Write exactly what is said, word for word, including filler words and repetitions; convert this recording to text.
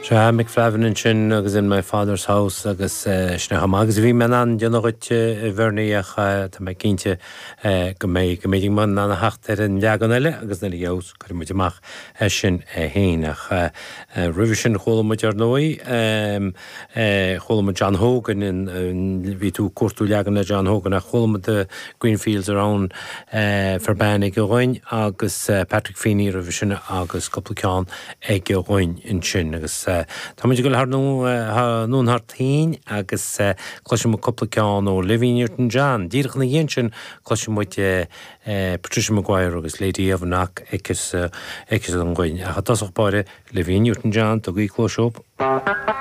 Sea Mick Flavin ansin agus in my father's house agus sin chomh maith agus bhí mé an déanamh dhuit a Bhernie ach tá mé cinnte go mbeidh go mbeidh an an theacht ar an leagan eile agus na leos cuirfidh muid amach sin féin ach roimhe sin chuala muid ar ndóigh chuala muid John Hogan bhí tú cuartú leagan le John Hogan ach chuala muid the Green Fields around Ferbane ag againn agus Patrick Feeney roimhe sin agus cúpla ceann ag againn ansin agus Tá muid ag dul thar anonn thar toinn agus cloisfidh muid cúpla ceann ó Olivia Newton-John. Díreach ina dhiaidh sin cloisfidh muid Patricia Maguire agus Lady of Knock aici againn. Ach i dtosach báire Olivia Newton-John tugaigí cluas.